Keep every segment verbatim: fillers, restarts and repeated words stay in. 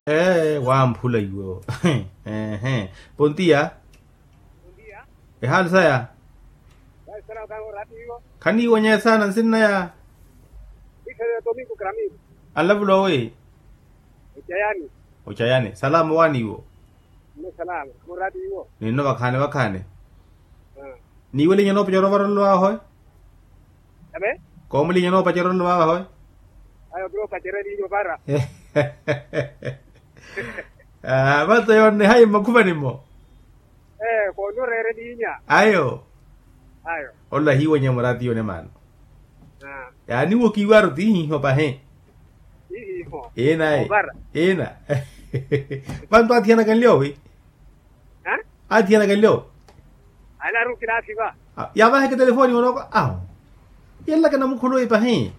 Ee wamphula iwo. Ehe. Pontiya. Ehaali saya. Khaniiwonyeya saana nsinnaya. Anlavula owi? Ocayani. Salama owaani iwo? Ninno vakhaani vakhaani. Niiwelinya noopacerya ovarelo awe hoye? Koomulinya noopacerya ovarelo awe hoye? Vato yoonnehayi mmakhuvani-mo. Ayo. Ola hiiwenya muraati yone maano. Yaani wo kiiwaaru tiihiho pahi. Ina. Vantu aathiyanaka nlyowi? Aathiyanaka nlyowi? Yaavaheke telefoni onooka awo. Yenlaka namukhuluwi pahi.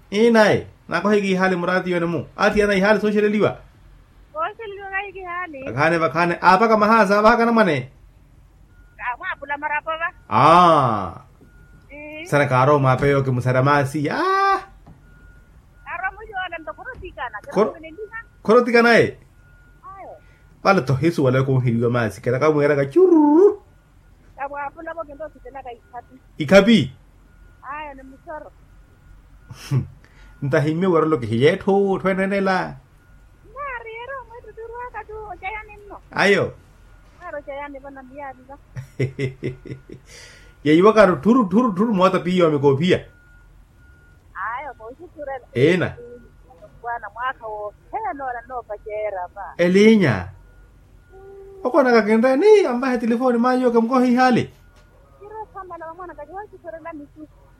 Inayi. Naakoheke ihaali muraati yone-mu aathiyana ihaali sooxeleliwa. Vakhaani vakhaani aapaka mahaasa aavahaka anamwane. Aa. Sana kaarowa mwaapeyo kimusarya maasi aa. Khorotikana e. Vale tohisuwala khunhiriwa maasi kena kamweeraka chururu. Ikhapi. Ntahimme werelo kihiye etthu etthu enenela. Ayo. Yeiwakaru thuru thuru thuru moota piiya wa mikoophiya. Ina. Elinya. Okoonaka kinreeni anvahe telefoni maayo kemukohe ihaali.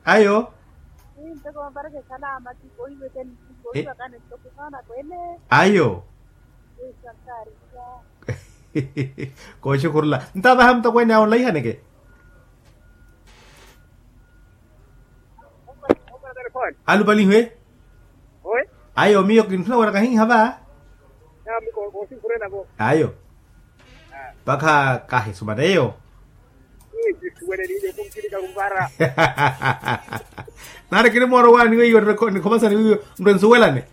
Ayo. Ayo. Kooxukhurula ntaavaha mutokweene awo nlaihaneke. Alupalihe. Ayo miyo kintthuna wira kahiiha va. Ayo. Mpakha kahisumana eyo. Nari kinimoora owaani weiyo nikhomasani weiyo nrwe nsuwelane.